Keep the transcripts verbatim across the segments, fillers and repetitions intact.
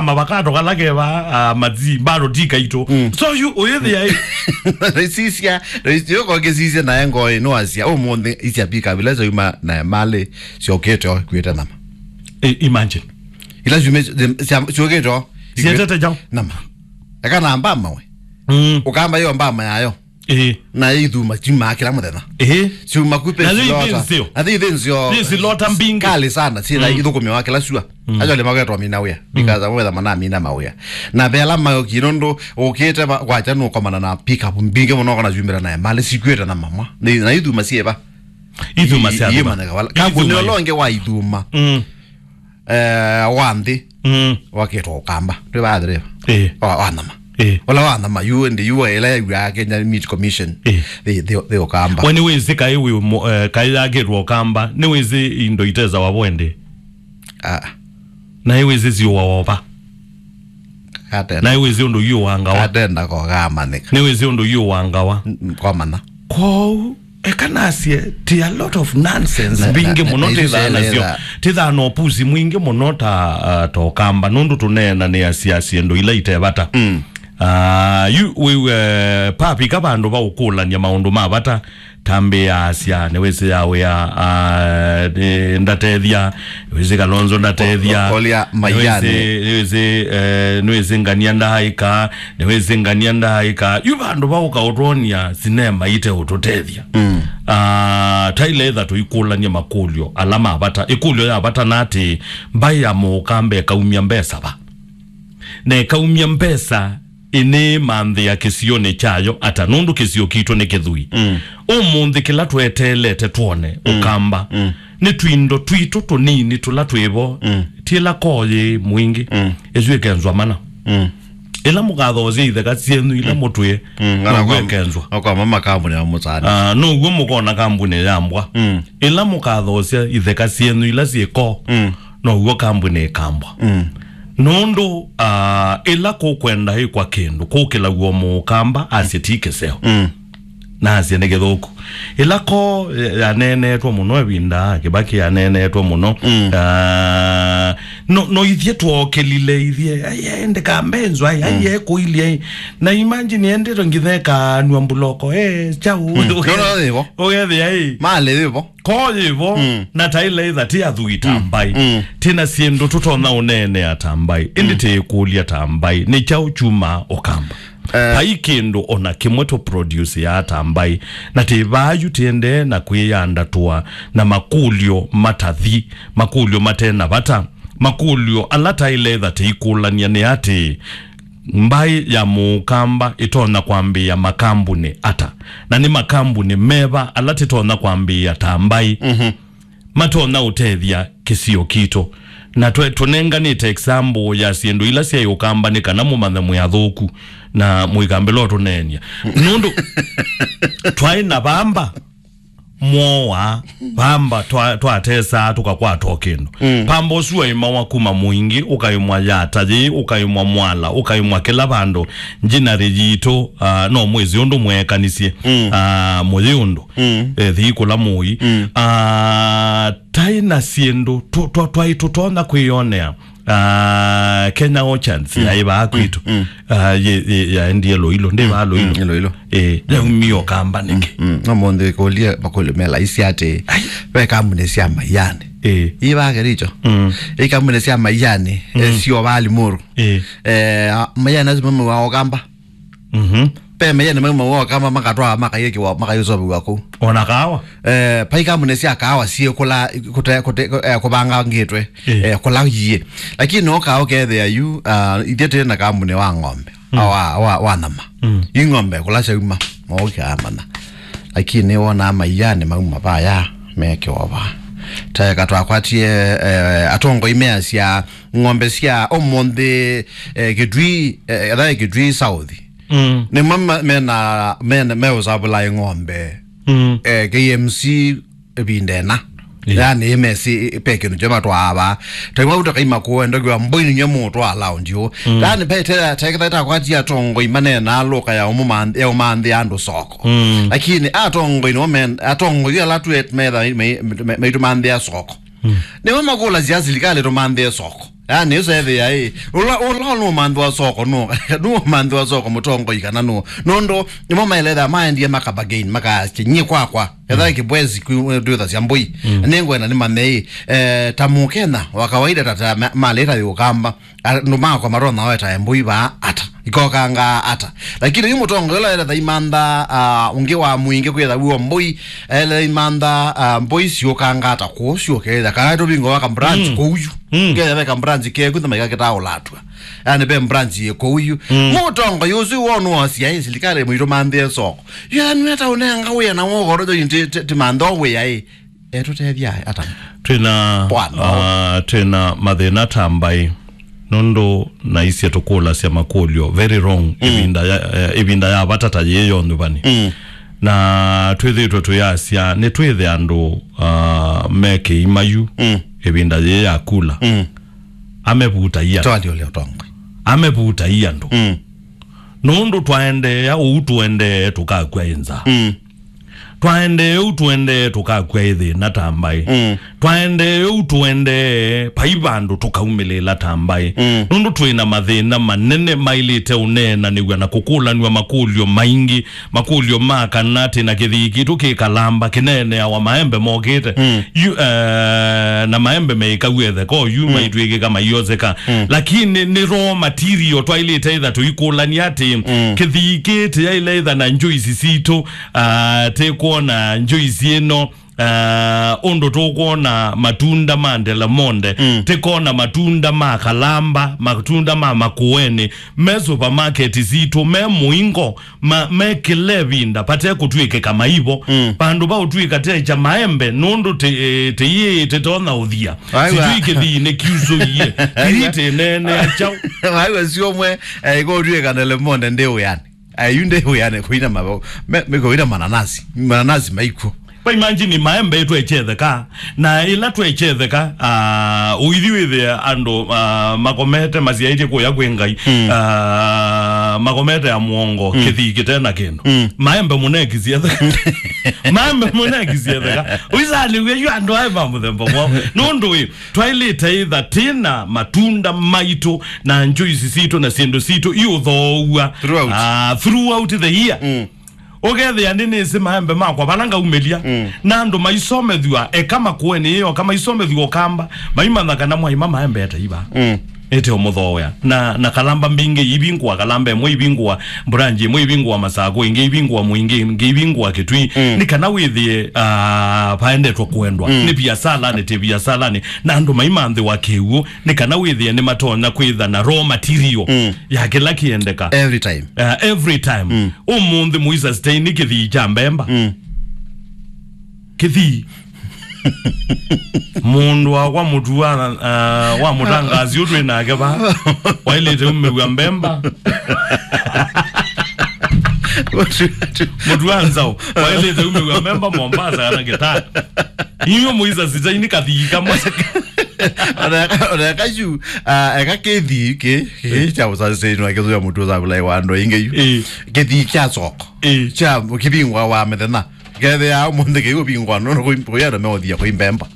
avakato kala keva, ah, matsi, bado ti kaitũ. Mm. So yu, ũyĩthĩa ĩ. Raisisya, raisisya, yoko ngĩsisya naye ngoo ĩ, nĩwasya, ũmũnthĩ isya pick up ila syauma na malĩ syokĩte o, ikuĩte nama. I-, imagine. Ila syume, sya-, syokĩte o, sietete jau. Nama. Eka na mbama we. Mm. Ũkamba yo mbama yayo. Ĩĩ. Na ithuma syumaa kĩla mũthenya. Ĩĩ. Syuma ku. Na pesi yu lota. Ithĩ nzeo. Na ithĩ nzeo. Pesi lota mbingĩ. Kali sana, syĩ na, mm, ithũkũmĩwa kĩla sua. Mm. Acio nĩ magetwa mina wĩa. Mm. Because amwe tha mana mina mawĩa. Na vela mayo kino ndo ũkĩte va-, kwacha nũkomana na pick up mbingĩ mũno kana syumĩra naye. Malĩ sikuĩte na mama. Nĩ, na ithuma syĩva. Ithuma sya, i-, thuma. Imanyĩka vala. Kambuni ithuma ũla ũngĩ wa ithuma. Mm. Eh, wa nthĩ. Mm. Wakĩtwa Ũkamba. Ndwĩ va athirĩva? Ĩĩ. Wa, wa nama. Ĩĩ. Ũla wa nama, yu, ndi yu, ĩla yaw'aa Kenya Meat Commission. Ĩĩ. Thĩ, thĩ, thĩ Ũkamba. We nĩwĩsĩ kaĩ wĩ mo-, eh, kaĩ yakĩtwa Ũkamba, nĩwĩsĩ indo itesawa vo ĩndĩ? Ah. Na nĩwĩsĩ siũawa va? Katenda. Na nĩwĩsĩ ũndũ yu wangawa. Katenda kogamanĩka. Nĩwĩsĩ ũndũ yu wangawa. N-, n-, komana. Kwoou, eka nasye, ti a lot of nonsense na, na, mbingĩ na, mũno na isu tĩthaa nasyo. Syeleza. Tĩthaa na ũpusi mwingĩ mũno ta, ah, ta Ũkamba, nũndũ tũneenanĩasya syĩndũ ila ite vata. Mm. Ah, yu, wĩw'e, papika vandũ va ũkũlany'a maũndũ ma vata, tambĩĩasya, nĩwĩsĩ ya wĩa, ah, nĩ, ndatethya, nĩwĩsĩ Kalonzo ndatethya, o-, olya Maiyani. Nĩwĩsĩ, nĩwĩsĩ, eh, nĩwĩsĩ ngania ndaaĩka, nĩwĩsĩ ngania ndaaĩka. Yu vandũ va ũkaũtwonia sinema ite ũtũtethya. Mm. Ah, taile etha tũikũlany'a makũlyo ala ma vata. Ĩkũlyo ya vata na atĩ, mbaĩ ya Mũũkamba ĩkaumya mbesa va? Na ĩkaumya mbesa ĩnĩĩmanthĩa kĩsionĩ kyayo ata, nũndũ kĩsio kitũ nĩ kĩthui. Mm. Ũmũnthĩ kĩla tweteelete twone, mm, Ũkamba, mm, nĩ twindo twitũ tũnini tũla twĩ vo, mm, ti ĩla koo yĩ mwingĩ, mm, ĩsu ĩkenzwa mana. Mm. Ĩla mũkathoosya itheka syenyu ila, mm, mũtwĩe, mm, noguo ĩkenzwa. Okwama makambuni ya mũsani. Ah, noguo mũkona kambuni ya mbwa. Mm. Ĩla mũkathoosya itheka syenyu ila syĩ koo, mm, noguo kambuni ĩkambwa. Mm. Nũndũ, ah, ĩla kũkwenda ĩkwa kĩndũ, kũkĩlaw'a Mũũkamba asye ti kĩseo. Mm. Na asye nĩ kĩthũku. Ĩla koo, eh, yaneenetwe mũno ĩvinda, Kĩbakĩ yaneenetwe mũno. Mm. Ah, no, no ithyĩ twookelile ithyĩ, ai, ai, ndĩkambenzwa, ai, ai, mm, ekũilye, ai. Na imagine endete ngithe kanwa mbuloko, eh, chau. Mm. No, no, yĩvo. Ũgethĩa, ai. Malĩ yĩvo. Koo yĩvo, mm, na taile itha ti athũi ta, mm, mbaĩ. Mm. Tina syĩndũ tũtonya ũneenea ta mbaĩ. Ĩndĩ, mm, tĩĩkũlya ta mbaĩ. Nĩ kyaũ kyumaa Ũkamba? Eh. Vai kĩndũ ona kĩmwe tũ produce ya ta mbaĩ. Na tĩ vaa yu tĩendee na kwĩyandatũa na makũlyo matathi, makũlyo mate na vata, makũlyo ala taile itha tĩikũlany'a nĩ atĩ, mbaĩ ya Mũũkamba ĩtonya kwambĩĩa makambunĩ ata? Na nĩ makambunĩ meva ala tĩtonya kwambĩĩa ta mbaĩ, mhm, matonya ũtethya kĩsio kitũ? Na twe-, tũnenganĩte example ya syĩndũ ila syaĩ Ũkamba nĩ kana mũmanye mwĩ athũku na mũikambĩla ũtũneenya. Nũndũ twaĩ na vamba mwoa, vamba twa-, twatesaa tũkakwata o kĩndũ. Mm. Pamba ũsu waimawa kuma Mwingĩ, ũkaimwa Yata yĩ, ũkaimwa Mwala, ũkaimwa kĩla vandũ. Njinarĩ yitũ, ah, no mwĩsĩ ũndũ mweekanisye, mm, ah, mũyĩ ũndũ. Mm. Eh, thii kũla mũi. Mm. Ah, taĩ na syĩndũ tũ-, twa-, twaĩ tũtonya kwĩyonea. Ah, Kenya Orchards, mm, yaĩ vaa kwitũ. Mm, mm. Ah, ye, ye, yaendie Loilo, ndĩ vaa Loilo. Mm, Loilo. Eh, yaumie Ũkamba nĩkĩ? Mm, mm. No mũndũ ĩkũlye makũlyo me laisi atĩ, ai, ve kambuni sya Maiyani. Eh. Ii vaa Kericho. Mm. Ii kambuni sya Maiyani, mm, eh, sio vaa Limuru. Eh. Eh, a, Maiyani asu maumawa Ũkamba. Mhm. Ve Maiyani maumawa Ũkamba makatwaa makaikiwa, makaisoviwa kũu. Ona kawa? Eh, vai kambuni sya kawa syĩkũla kũte-, kũte-, eh, kũvangangĩtwe, eh, eh, kũla iĩ. Lakini no kawa kethĩa yu, ah, ithyĩ twĩ na kambuni wa ng'ombe, mm, wa, wa, wa nyama. Mm. Yu ng'ombe kũla syauma, maũkĩa mana. Lakini wonaa Maiyani mauma vaya, mekiwa vaa. Taeka twakwatie, eh, atongoi measya ng'ombe sya ũmũnthĩ, eh, Kitui, eh, etha Kitui South. Mm. Nĩmo ma-, mena, mena, meũsavũla ng'ombe. Mm. Eh, K M C ĩvinda ĩna. Yeah. Yani, ĩmesi, ĩ-, pe kĩndũ kyo matwaa vaa. Taimwe ũtakaima kũenda kwĩwa mbũi nĩnyo mũtwaa laundi ũũ. Mm. Yani, pe te-, te-, te-, takwatia atongoi maneenaa lũka ya ũmũmanth-, ya ũmanthĩa andũ soko. Mm. Lakini atongoi nĩmo men-, atongoi ala twĩ metha me-, me-, me-, maitũmanthĩa soko. Mm. Nĩmo makũlasya silikalĩ tũmanthĩe soko. Yaani, ũsethĩa, ĩ, ũla, ũla nũmanthwa soko, nũ, nũmanthwa soko mũtongoi kana nũ. Nũndũ, nĩmo maelethĩa maendie makabagain, makasya, "Nyie kwakwa, etha kĩbwezi kwi-, ndwĩthasya mbũi." Nĩngwenda nĩmanye, ĩ, eh, ta Mũkenya wa kawaida, ta, ta ma-, malĩta yũkamba, andũ makwa maronya weta mbũi vaa ata, ikokangaa ata. Lakini yu mũtongoi ũla eletha imantha, ah, ũngĩ wa mũingĩ kwĩtha w'o mbũi, eletha imantha, ah, mbũi siũkanga ata kũu syũketha. Kana tũvingo wa ka branch kũu yu. Ketha ve ka branch keku, thama ika kĩtaũlatw'a. Yaani ve branch yĩ kũu yu. Mũtongoi ũsu wonu wa C I A, silikalĩ mũitũ manthĩe soko. Yaani, nĩweta ũnenga wĩa na wogoro, ti, ti, ti mantho wĩa, ĩ. Etũtethya ata? Twĩna, Bwana. Ah, twĩna mathĩna ta mbaĩ. Nũndũ naisye tũkũlasya makũlyo very wrong ĩvinda ya, eh, ĩvinda ya vata ta yĩĩ yo nyuvani. Na twĩthĩĩtwe tũyasya nĩtwĩthe andũ, ah, me kĩima yu ĩvinda yĩĩ ya kula. Amevutai andũ. Twalĩ ũlĩa ũtongoi. Amevutai andũ. Nũndũ twaendeea ũu tũendee tũkakw'a ĩ nzaa. Twaendee ũu tũendee tũkakw'a ĩ thĩna ta mbaĩ. Twaendee ũu tũendee vai vandũ tũkaumĩlĩĩla ta mbaĩ. Nũndũ twĩ na mathĩna manene maĩlĩte ũneenanĩw'a na kũkũlanw'a makũlyo maingĩ. Makũlyo ma kana tĩ na kĩthii kitũ kĩ kalamba kĩneeneawa maembe mokĩte. Yu, eh, na maembe meĩkaw'e ĩtheka oyu maitw'ĩkĩka maioseka. Lakini nĩ raw material twaĩlĩte ĩtha tũikũlany'a atĩ kĩthii kĩĩ tĩyaĩle ĩtha na njuici sitũ, ah, tĩkwona njuici ĩno, ah, ũndũ tũkwona matunda ma Del Monte, tĩkona matunda ma kalamba, matunda ma makũenĩ, me supermarket sitũ, me mũingo, ma, me kĩla ĩvinda, vate kũtw'ĩkĩka maivo. Vandũ va ũtw'ĩka techa maembe, nũndũ tĩ, eh, tĩyĩĩ tĩtonya ũthia. Sijui kĩthii nĩ kiusũie. Kĩthii tĩneenea kyaũ. Waiwa siomwe, eh, ĩkũtw'ĩka Del Monte ndĩ wĩanĩ. Ayu ndĩ wĩanĩ kũina mavo, me, me kũina mananasi. Mananasi maikwo. Kwa imagine maembe twechetheka, na ĩla twechetheka, ah, ũithi wĩthĩa andũ, ah, makomete masyaĩtye kũya kwĩ Ngai, ah, makomete ya mũongo, kĩthii kĩte na kĩndũ. Maembe mũnekisietheka. Maembe mũnekisietheka. Ũisalĩw'e yu andũ aĩ ma mũthemba mwaũ. Nũndũ ĩ, twaĩlĩte ĩtha tĩna matunda maitũ na njuici sitũ na syĩndũ sitũ iũthoow'a, throughout. Ah, throughout the year. Ũkethĩa nĩ nĩsĩ maembe makwa vala ngaumĩlya, na andũ maisomethw'a eka makũenĩ ĩyo, ka maisomethw'a ũkamba, maimanya kana mwaima maembe ete iva. Ete ũmũthoea. Na, na kalamba mbingĩ ivingũa, kalamba ĩmwe ivingũa, branch ĩmwe ivingũa Masakũ, ĩngĩ ivingũa Mwingĩ, ĩngĩ ivingũa Kĩtui. Nĩ kana wĩthĩe, ah, vaendetwe kũendwa. Nĩ viasalanĩ, ti viasalanĩ. Na andũ maimanthĩwa kĩw'ũ, nĩ kana wĩthĩe nĩmatonya kwĩtha na raw material ya kĩla kĩendeka. Every time. Uh, every time. Ũmũnthĩ mũisa stain kĩthii kya mbemba. Kĩthii. Mũndũ wakwa mũtu wa, uh, wa mũtangaasi ũtwĩ nake va. Waĩlĩte umĩw'a mbemba. Mũtu wa nzaũ. Waĩlĩte umĩw'a mbemba Mombasa kana Kitale. Inyuĩ mũisa stain kathii kamwe. Oneka, oneka yu, ah, eka kĩthii kĩ, kĩ kya ũsasĩnwa kĩthũya mũtu ũsavulai wa andũ aingĩ yu. Ĩĩ. Kĩthii kya soko. Ĩĩ. Kya kĩvingwa wa mĩthenya. Kethĩa ũmũnthĩ kĩu ũvingwa nũndũ kũi-, kũi andũ meũthia kũi mbemba.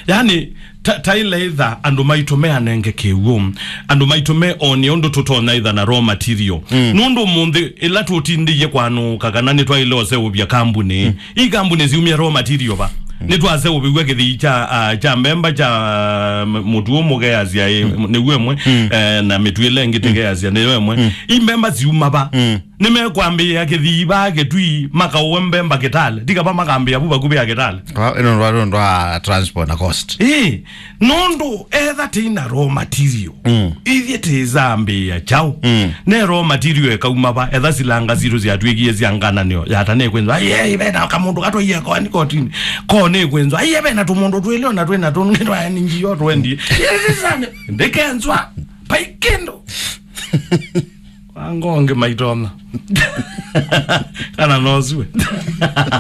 Yani, ta, ta ĩla ĩtha andũ maitũ meanenge kĩw'ũ, andũ maitũ me onie ũndũ tũtonya ĩtha na raw material. Nũndũ ũmũnthĩ ĩla tũtindĩie kwanũka kana nĩtwaĩle ũseũvya kambuni, ii kambuni siumya raw material va. Nĩtwaseũvĩw'a kĩthii kya, ah, kya mbemba kya, ah, m-, mũtu ũmũkeasya, ĩ, nĩw'o ĩmwe, eh, na mĩtu ĩla ĩngĩ tĩkeasya nĩyo ĩmwe. Ii mbemba siuma va. Nĩmekwambĩĩa kĩthii vaa Kĩtui, makaũe mbemba Kitale. Ti kava makambĩĩa vu vakuvĩ ya Kitale. Kwa, ĩno ndwa, ndwa transport na cost. Ĩĩ, nũndũ etha tĩi na raw material. Ithyĩ tĩzambĩĩa kyaũ? Ne raw material ĩkauma va, etha silanga sitũ syatw'ĩkie sya ngananĩo, yata nĩkwĩnzwa, "Ai, ai, vena kamũndũ katwaie koani kotini." Ko nĩkwĩnzwa, "Ai, vena tũmũndũ twĩlĩ ona twĩ na tũngĩ twaeni njio twendie." Ndĩkenzwa, vai kĩndũ. Wango ũngĩ maitona. Kana nosue.